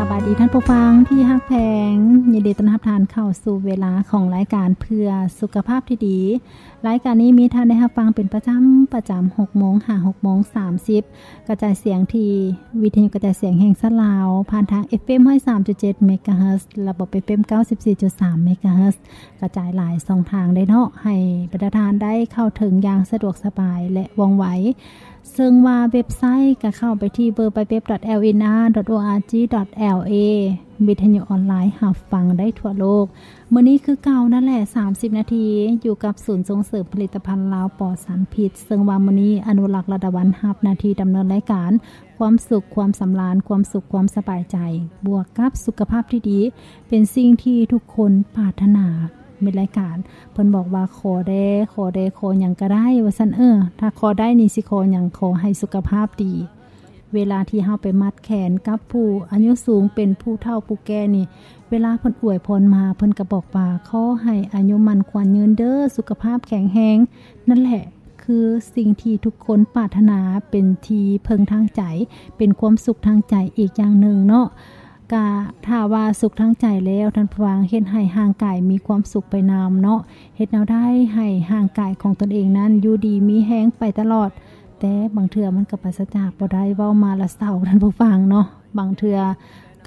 ສະບາຍດີທ່ານຜູ້ຟັງທີ່ຮັກແພງ, ຍິນດີຕ້ອນຮັບທ່ານເຂົ້າສູ່ເວລາຂອງລາຍການເພື່ອສຸຂະພາບທີ່ດີ. ລາຍການນີ້ມີທ່ານໄດ້ຮັບຟັງເປັນປະຈຳ, ປະຈຳຫົກໂມງຫາຫົກໂມງສາມສິບ ກະຈາຍສຽງທີ່ວິທະຍຸກະຈາຍສຽງແຫ່ງຊາດລາວ ຜ່ານທາງ ເອັຟເອັມ ຮ້ອຍສາມຈຸດເຈັດ ເມກາເຮີດ, ລະບົບ ເອັຟເອັມ ເກົ້າສິບສີ່ຈຸດສາມ ເມກາເຮີດ, ກະຈາຍຫຼາຍຊ່ອງທາງເດ້ເນາະ, ໃຫ້ບັນດາທ່ານໄດ້ເຂົ້າເຖິງຢ່າງສະດວກສະບາຍ ແລະ ວ່ອງໄວ. ເຊິ່ງວ່າເວັບໄຊກະເຂົ້າໄປທີ່ ดัບເບິນຢູ ດັບເບິນຢູ ດັບເບິນຢູ ດອດ ໂອ ອາ ຈີ ດອດ ແອລ ເອ ວິທະຍຸອອນລາຍຮັບຟັງໄດ້ທົ່ວໂລກ. ມື້ນີ້ຄືເກົ່ານັ້ນແຫຼະ ສາມສິບນາທີ ຢູ່ກັບສູນສົ່ງເສີມຜະລິດຕະພັນລາວປອດສານພິດ, ເຊິ່ງວ່າມື້ນີ້ອະນຸລັກ ລະດາວັນ ຮັບໜ້າທີ່ດຳເນີນລາຍການ. ຄວາມສຸກ, ຄວາມສຳລານ, ຄວາມສຸກ, ຄວາມສະບາຍໃຈ ບວກກັບສຸຂະພາບທີ່ດີ ເປັນສິ່ງທີ່ທຸກຄົນປາດຖະໜາ. ມິດລາຍການເພິ່ນບອກວ່າ ຂໍແດ່ ຂໍແດ່ ຂໍຫຍັງກະໄດ້ ວ່າຊັ້ນ. ເອີ ຖ້າຂໍໄດ້ນີ້ຊິຂໍຫຍັງ? ຂໍໃຫ້ສຸຂະພາບດີ. ເວລາທີ່ເຮົາໄປມັດແຂນກັບຜູ້ອາຍຸສູງ ເປັນຜູ້ເຖົ້າຜູ້ແກ່ນີ້, ເວລາເພິ່ນອວຍພອນມາ ເພິ່ນກະບອກວ່າ ຂໍໃຫ້ອາຍຸໝັ້ນຂວັນຍືນເດີ ສຸຂະພາບແຂງແຮງ. ນັ້ນແຫຼະ ຄືສິ່ງທີ່ທຸກຄົນປາດຖະໜາ, ເປັນທີ່ເພິ່ງທາງໃຈ, ເປັນຄວາມສຸກທາງໃຈອີກຢ່າງໜຶ່ງເນາະ. ກະຖ້າວ່າສຸກທາງໃຈແລ້ວ ທ່ານຜູ້ຟັງ, ເຮັດໃຫ້ຮ່າງກາຍມີຄວາມສຸກໄປນຳເນາະ, ເຮັດແນວໃດໃຫ້ຮ່າງກາຍຂອງຕົນເອງນັ້ນຢູ່ດີມີແຮງໄປຕະຫຼອດ. ແຕ່ບາງເທື່ອມັນກະປາສະຈາກບໍ່ໄດ້, ເວົ້າມາລະເສົ້າ ທ່ານຜູ້ຟັງເນາະ. ບາງເທື່ອ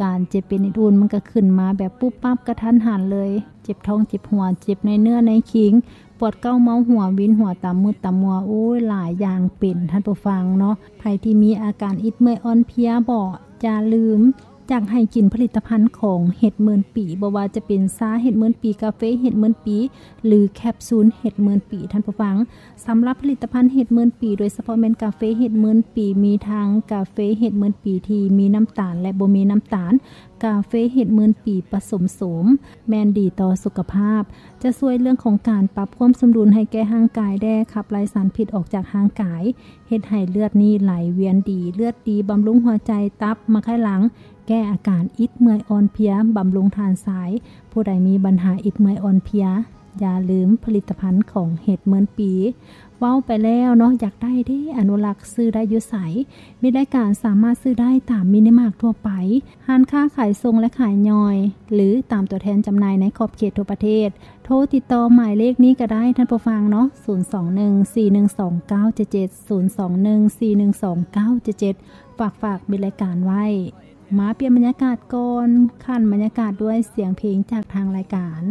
ການເຈັບເປັນອື່ນໆ ມັນກະຂຶ້ນມາແບບປຸບປັບກະທັນຫັນເລີຍ, ເຈັບທ້ອງເຈັບຫົວ, ເຈັບໃນເນື້ອໃນຄີງ, ປວດເກົາເມົາຫົວ, ວິນຫົວຕາມມືດຕາມມົວ, ໂອ້ຍ ຫຼາຍຢ່າງເປັນ ທ່ານຜູ້ຟັງເນາະ. ໃຜທີ່ມີອາການອິດເມື່ອຍອ່ອນເພຍບໍ ຢ່າລືມ ຢາກໃຫ້ກິນຜະລິດຕະພັນຂອງເຫັດໝື່ນປີ, ບໍ່ວ່າຈະເປັນຊາເຫັດໝື່ນປີ, ກາເຟເຫັດໝື່ນປີ ຫຼື ແຄບຊູນເຫັດໝື່ນປີ ທ່ານຜູ້ຟັງ. ສຳລັບຜະລິດຕະພັນເຫັດໝື່ນປີ, ໂດຍສະເພາະແມ່ນກາເຟເຫັດໝື່ນປີ, ມີທັງກາເຟເຫັດໝື່ນປີທີ່ມີນ້ຳຕານ ແລະ ບໍ່ມີນ້ຳຕານ, ກາເຟເຫັດໝື່ນປີປະສົມໂສມ ແມ່ນດີຕໍ່ສຸຂະພາບ, ຈະຊ່ວຍເລື່ອງຂອງການປັບຄວາມສົມດຸນໃຫ້ແກ່ຮ່າງກາຍແດ່, ຂັບໄລ່ສານພິດອອກຈາກຮ່າງກາຍ, ເຮັດໃຫ້ເລືອດນີ້ໄຫຼວຽນດີ, ເລືອດດີ, ບຳລຸງຫົວໃຈ, ຕັບ, ໝາກໄຂ່ຫຼັງ, ແກ້ອາການອິດເມື່ອຍອ່ອນເພຍ, ບຳລຸງທານຊາຍ. ຜູ້ໃດມີບັນຫາອິດເມື່ອຍອ່ອນເພຍ, ຢ່າລືມຜະລິດຕະພັນຂອງເຫັດໝື່ນປີ. ເວົ້າໄປແລ້ວເນາະ, ຢາກໄດ້ເດ້ ອະນຸລັກ ຊື້ໄດ້ຢູ່ໃສ? ມິດລາຍການສາມາດຊື້ໄດ້ຕາມມິນິມາກທົ່ວໄປ, ຮ້ານຄ້າຂາຍສົ່ງ ແລະ ຂາຍຍ່ອຍ ຫຼື ຕາມຕົວແທນຈຳໜ່າຍໃນຂອບເຂດທົ່ວປະເທດ. ໂທຕິດຕໍ່ໝາຍເລກນີ້ກະໄດ້ ທ່ານຜູ້ຟັງເນາະ, ສູນສອງໜຶ່ງ ສີ່ໜຶ່ງສອງ ເກົ້າເຈັດເຈັດ ສູນສອງໜຶ່ງ ສີ່ໜຶ່ງສອງ ເກົ້າເຈັດເຈັດ. ຝາກ ຝາກມິດລາຍການໄວ້. ມາປ່ຽນບັນຍາກາດກ່ອນ, ຂັ້ນບັນຍາກາດດ້ວຍສຽງເພງຈາກທາງລາຍການ.